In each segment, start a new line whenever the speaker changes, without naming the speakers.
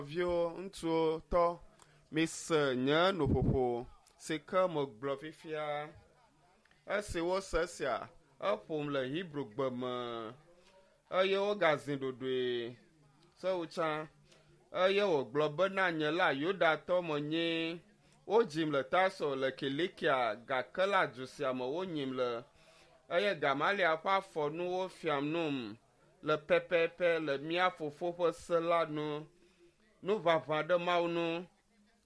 Nɔviwo, ŋutsuwo, tɔ, mise nye nuƒoƒo si ke megblɔ fifia. Esi wose esia, eƒom le Hebrigbe me eye wogazi ɖoɖoe sewu tsã. Eye wògblɔ bena, Nye la Yudatɔ menye. Wodzim le Tarso le Kilikia, gake la du sia me wonyim le. Eye Gamaliel ƒe afɔ nu wofiam num le pɛpɛpɛ le mía fofo ƒe se la nu. Nu ʋaʋã ɖe Mawu nu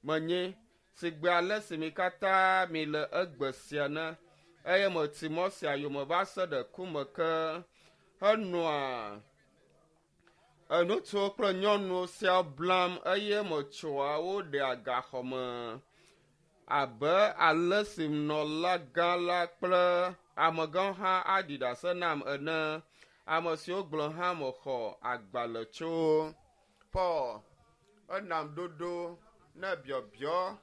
menye, si gbe ale si mi katã miele egbe sia ne, eye meti mɔ sia yome va se ɖe ku me ke henɔa ŋutsuwo kple nyɔnuwo siaa blam eye metsɔa wo ɖea gaxɔ me abe ale si nunɔlagã la kple amegãwo hã aɖi ɖase nam ene, ame siwo gblɔ hã mexɔ agbalẽ tso. Paul enam ɖoɖo ne biɔbiɔ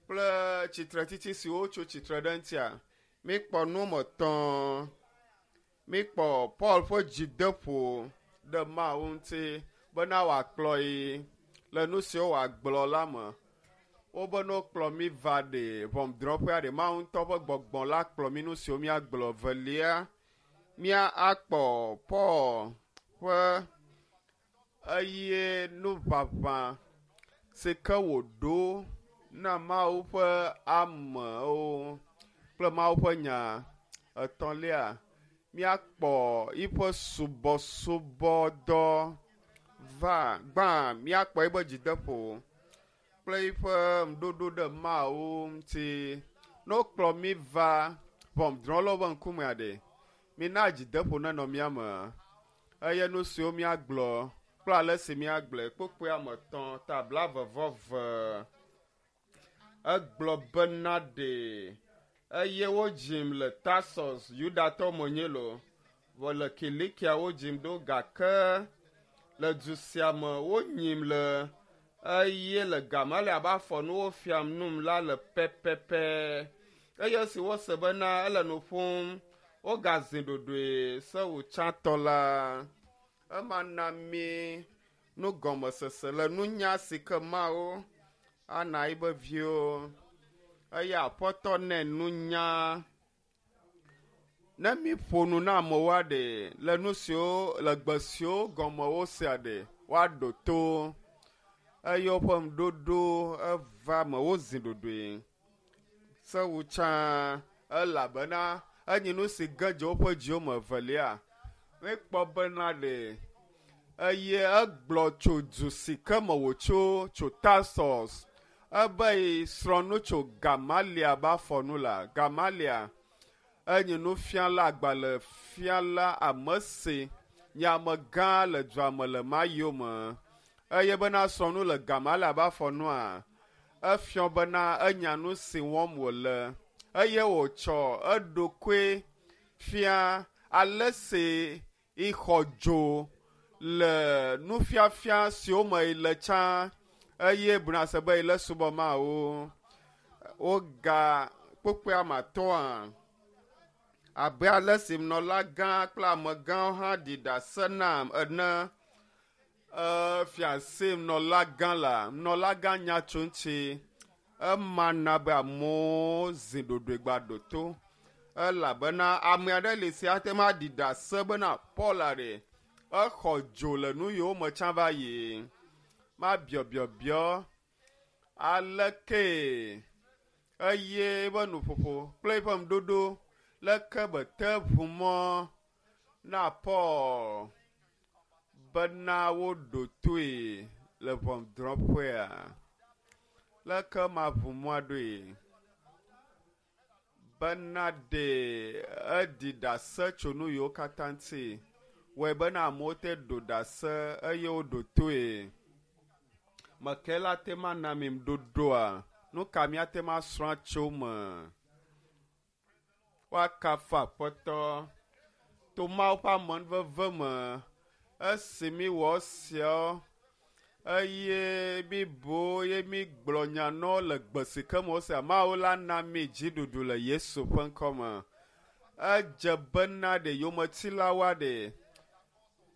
kple tsitretsitsi siwo tso tsitre ɖe eŋutia. Míkpɔ nu me tɔ̃. Míkpɔ Paul ƒe dzideƒo ɖe Mawu ŋuti bena wòakplɔ yi le nu siwo wòagblɔ la me. Wobe ne wokplɔ mí va ɖe ʋɔnudrɔ̃ƒea ɖe Mawu ŋutɔ ƒe gbɔgbɔ la kplɔ mí nu siwo míagblɔ. Velia, mía akpɔ Paul ƒe eye nuʋaʋã si ke wòɖo na Mawu ƒe amewo kple Mawu ƒe nya. Etɔ̃lia, míakpɔ yiƒe subɔsubɔdɔ va gbã, míakpɔ yiƒe dzideƒo kple yiƒe ŋuɖoɖo ɖe Mawu ŋuti. Ne wokplɔ mí va ʋɔnudrɔ̃lawo ƒe ŋkumea ɖe, mina dzideƒo nenɔ mía me. Eye nu siwo míagblɔ kple ale si míagblɔe. Kpukpui ame etɔ̃ ta blaeve vɔ eve. Egblɔ bena ɖe eye wodzim le Tarsus, Yudatɔ menye lo, vɔ le Kilikia wodzim ɖo gake le du sia me wonyim le eye le Gamaliel abe afɔ nu wofiam num la le pɛpɛpɛ. Eye esi wose bena ele nu ƒom, wogazi ɖoɖoe sewu tsãtɔ la. Ema na mí nugɔmesese le nunya si ke Mawu ana eƒe viwo. Eye Aƒetɔ nɛ nunya. Ne míƒo nu na amewoa ɖe le nu siwo le gbe siwo gɔme wosea ɖe, woaɖo to eye woƒe ŋuɖoɖo eva me wozi ɖoɖoe sewu tsã elabena enyi nu si ge dze woƒe dziwo me evelia. Míekpɔ bena ɖe eye egblɔ tso du si ke me wòtso tso Tarsus ebe yi srɔ̃ nu tso Gamalia be afɔ nu la. Gamalia enye nufiala, agbalẽfiala, ame si nye amegã le dua me le ma yome. Eye bena srɔ̃ nu le Gamalia be afɔ nua, efiɔ bena enya nu si wɔm wòle eye wòtsɔ eɖokui fia ale si ixɔ dzo le nufiafia siwo me yi le tsã eye buna se be yi le subɔ Mawu. Woga kpukpui ame atɔ̃a abe ale si nunɔlagã kple amegãwo hã ɖi ɖase nam ene. Efia si nunɔlagã la, nunɔlagã nya tso ŋuti. Ema na be amewo zi ɖoɖoe gba ɖo to elabena ame aɖe li si ate ŋu aɖi ɖase bena Paul ɖe exɔ dzo le nu yiwo me tsã va yi. Mabiɔbiɔbiɔ aleke eye eƒe nuƒoƒo kple eƒe ŋuɖoɖo leke be te ʋu mɔ na Paul bena woɖo toe le ʋɔnudrɔ̃ƒea. Leke maʋu mɔa ɖoe? Bena ɖe eɖi ɖase tso nu yiwo katã ŋuti. Wɔe bena amewo te ɖo ɖase eye woɖo toe. Meke la te ma na mi ŋuɖoɖoa? Nu ka míate ŋu asrɔ̃ tso me? Woakafu Aƒetɔ to Mawu ƒe amenuveve me esi míwɔ esiawo eye míbu eye mígblɔ nya na wo le gbe si ke me wosea. Mawu la na mí dziɖuɖu le Yesu ƒe ŋkɔ me. Edze bena ɖe yometilawoa ɖe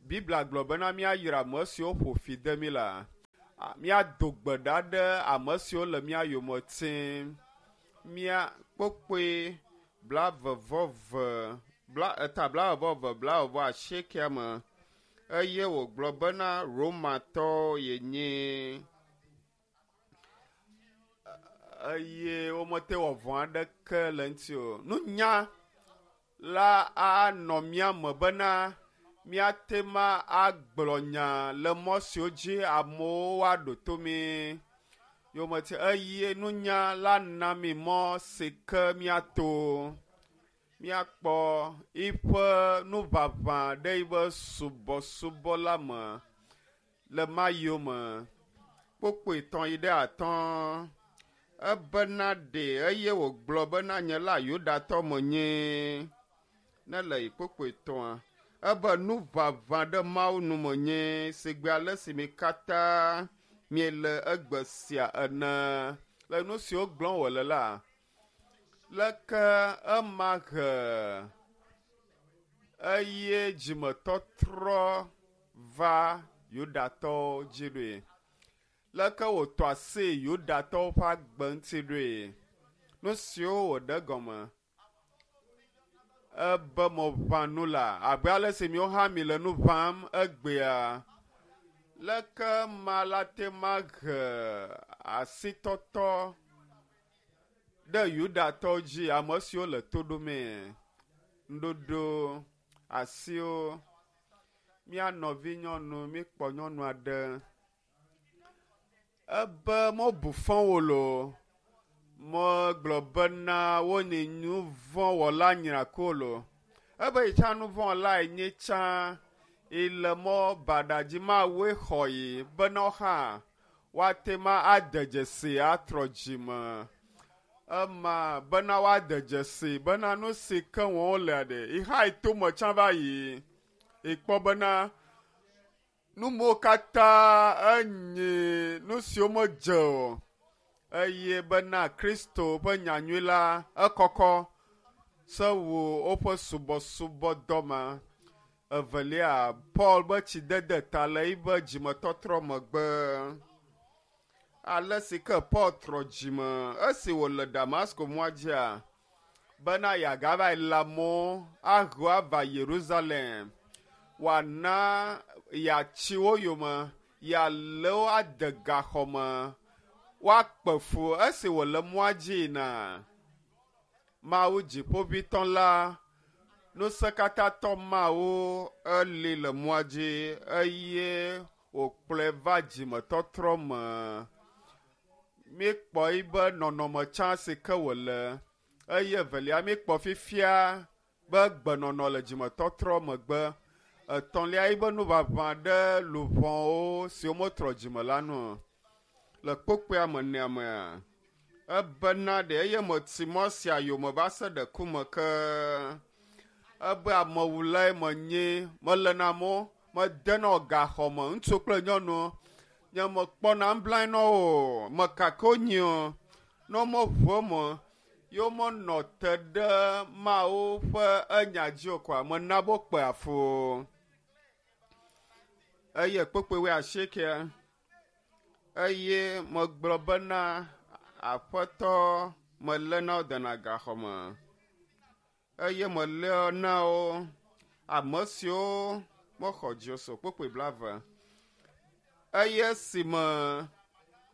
Biblia gblɔ bena míayra ame siwo ƒo fi de mí la. Míado gbe ɖa ɖe ame siwo le mía yome tim. Mía kpokpoe blaeve-vɔ-eve, bla, eta blaeve-vɔ-eve, blaeve-vɔ-asiekea me eye wògblɔ bena Romatɔ yenye. Eye womete wɔ vɔ̃ aɖeke le eŋuti o. Nunya la anɔ mía me bena míate ma agblɔ nya le mɔ siwo dzi amewo woaɖo to mí. Yometi eye nunya la na mí mɔ si ke míato míakpɔ yiƒe nuʋaʋã ɖe yiƒe subɔsubɔ la me le ma yome. Kpokpoe tɔ̃ yi ɖe atɔ̃. Ebena ɖe eye wògblɔ bena nye la Yudatɔ menye. Ne le yi kpokpoe tɔ̃a, ebe nuʋaʋã ɖe Mawu nu menye sigbe ale si mi katã miele egbe sia ene. Le nu siwo gblɔm wòle la, leke ema he eye dzimetɔtrɔ va Yudatɔwo dzi ɖoe? Leke wòtɔ asi Yudatɔwo ƒe agbe ŋuti ɖoe? Nu siwo wòɖe gɔme ebe meʋã nu la, abe ale si miwo hã mile nu ʋãm egbea. Leke ma la te mahe asitɔtɔ ɖe Yudatɔwo dzi, ame siwo le to ɖomee? Ŋuɖoɖo asiwo. Mía nɔvinyɔnu, míkpɔ nyɔnu aɖe. Ebe mebu fɔ wo loo. Megblɔ bena wonye nu vɔ̃ wɔla nyrakuwo loo. Ebe yi tsã nu vɔ̃ wɔlae nye tsã yi le mɔ baɖa dzi Mawue xɔ yi bena wo hã woate ma ade dzesi atrɔ dzime. Ema bena woade dzesi bena nu si ke wɔm wolea ɖe yi hã yi tome tsã va yi. Yi kpɔ bena Nu mawo katã enye nu siwo medze o, eye bena Kristo ƒe nyanyui la ekɔkɔ se wu woƒe subɔsubɔdɔ ma. Evelia, Paul be tsidede ta le eƒe dzimetɔtrɔ megbe. Ale si ke Paul trɔ dzime esi wòle Damasko mɔa dzia, bena yeagava yi le amewo aho ava Yerusalem, wòana yeatsi wo yome, yealé wo ade gaxɔ me, woakpe fu esi wòle mɔa dzi yina. Mawu Dziƒoʋĩtɔ la, Ŋusẽkatãtɔ Mawu eli le mɔa dzi eye wòkplɔe va dzimetɔtrɔ me. Míekpɔ yibe nɔnɔme tsã si ke wòle eye evelia míekpɔ fifia be gbenɔnɔ le dzimetɔtrɔ megbe. Etɔ̃lia yibe nuʋaʋã ɖe luʋɔwo siwo metrɔ dzime la nu. Le kpokpoea me nea mea, ebena ɖe eye meti mɔ sia yome va se ɖe ku me ke. Ebe amewulae menye, melena amewo, medenɔ gaxɔ me, ŋutsu kple nyɔnu. Nye mekpɔna nublanui na wo o, mekaka wonyi o. Ne womeʋu eme ye womenɔ te ɖe Mawu ƒe enya dzi o koa, mena be wokpea fu o. Eye kpukpui wuiasiekea, eye megblɔ bena, Aƒetɔ, meléna wo dena gaxɔ me. Eye meléa na wo ame siwo mexɔ dzi o so kpukpui blaeve. Eye esime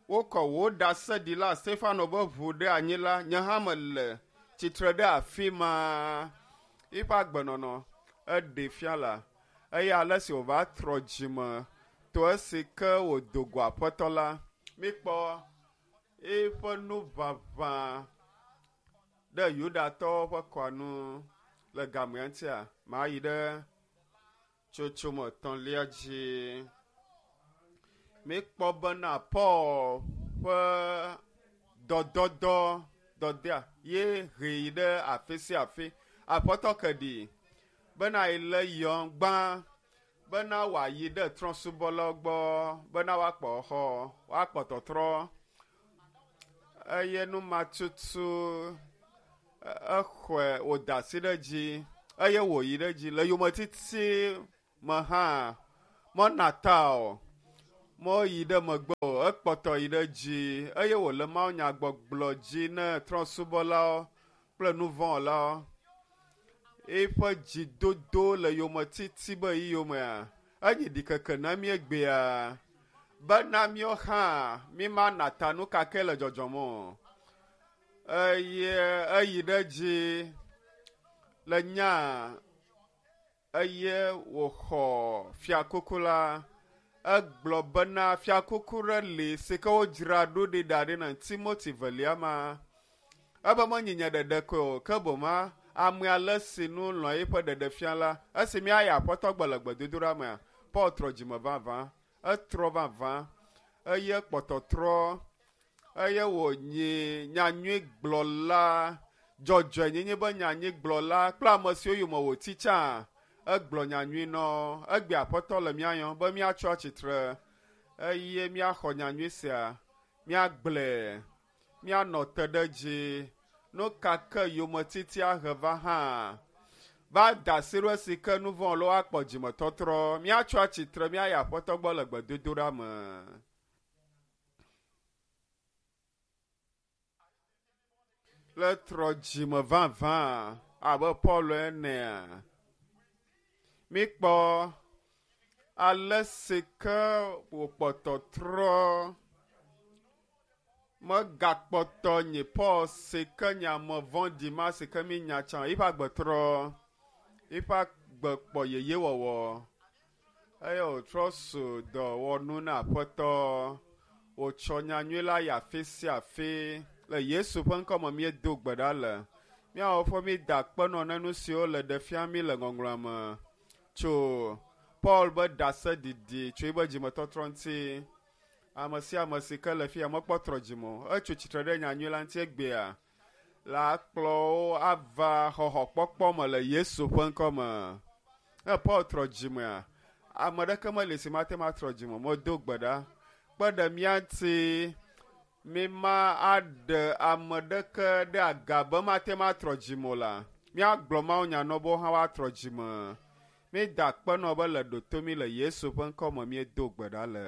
wokɔ wò ɖaseɖila Stefano ƒe ʋu ɖe anyi la, nye hã mele tsitre ɖe afi ma. Eƒe agbenɔnɔ eɖee fia la, eye ale si wòva trɔ dzime to esi ke wòdo go Aƒetɔ la, míkpɔ eƒe nuʋaʋã ɖe Yudatɔwo ƒe kɔa nu le gamea ŋutia, mayi ɖe tsotsome etɔ̃lia dzi. Míkpɔ bena Paul ƒe dɔdɔdɔ dɔdea ye hee yi ɖe afi sia afi. Aƒetɔ ke ɖi bena yi le yɔm gbã bena wòayi ɖe trɔ̃subɔlawo gbɔ bena woakpɔ xɔ, woakpɔ tɔtrɔ. Eye nu ma tutu exɔe wòda asi ɖe edzi eye wòyi ɖe edzi le yometiti me hã mena ta o. Meyi ɖe megbe o, ekpɔtɔ yi ɖe dzi eye wòle mawunyagbɔgblɔ dzi ne trɔ̃subɔlawo kple nuvɔ̃wɔlawo. Eƒe dzidodo le yometiti be yi yomea, enyi ɖikeke na mí egbea bena míawo hã mímana ta nu ka ke le dzɔdzɔm o. Eye eyi ɖe dzi le nya eye wòxɔ fiakuku la. Egblɔ bena fiakuku ɖe li si ke wodzra ɖo ɖi da ɖi na Timoti velia ma. Ebe menyi nye ɖeɖe koe o, ke boŋ ame ale si nu lɔ̃ eƒe ɖeɖefia la, esi míayi aƒetɔ gbe le gbedodoɖa mea, Paul trɔ dzime vavã. Etrɔ vavã eye kpɔtɔ trɔ eye wònyi nyanyuigblɔla, dzɔdzɔenyenye be nyanyuigblɔla kple ame siwo yome wòti tsã. Egblɔ nyanyui nɔ. Egbe aƒetɔ le mía yɔm be míatso atsitre eye míaxɔ nyanyui sia, míagblɔe, míanɔ te ɖe edzi. Nu ka ke yometiti ahe va hã, va da asi ɖo esi ke nu vɔ̃ akpɔ dzimetɔtrɔ. Míatso atsitre míayi aƒetɔ gbɔ le gbedodoɖa me. Le trɔ dzime vavã abe Paul enea, míkpɔ ale si ke wòkpɔtɔ trɔ megakpɔtɔ nye Paul si ke nye ame vɔ̃ɖi ma si ke mínya tsã eƒe agbe trɔ, eƒe agbe kpɔ yeyewɔwɔ eye wòtrɔ su dɔwɔnu na aƒetɔ. Wòtsɔ nyanyui la yi afi sia afi. Le Yesu ƒe ŋkɔme míedo gbe ɖa le. Míawo ƒe mída akpe nɔ ne nu siwo le ɖe fia mí le ŋɔŋlɔa me tso Paul be ɖaseɖiɖi tso eƒe dzimetɔtrɔ ŋuti. Ame sia ame si ke le fia mekpɔ trɔ dzime o. Etso tsitre ɖe nyanyui la ŋuti egbea la akplɔ wo ava xɔxɔkpɔkpɔ me le Yesu ƒe ŋkɔme. Ne Paul trɔ dzimea, ame ɖeke meli si mate ŋu atrɔ dzime o. Medo gbe ɖa kpe ɖe mía ŋuti míma aɖe ame ɖeke ɖe aga be mate ŋu atrɔ dzime o la, míagblɔ mawunya nɔ be wo hã woatrɔ dzime. Mída akpe nɔ be le ɖo to mí le Yesu ƒe ŋkɔme míedo gbe ɖa le.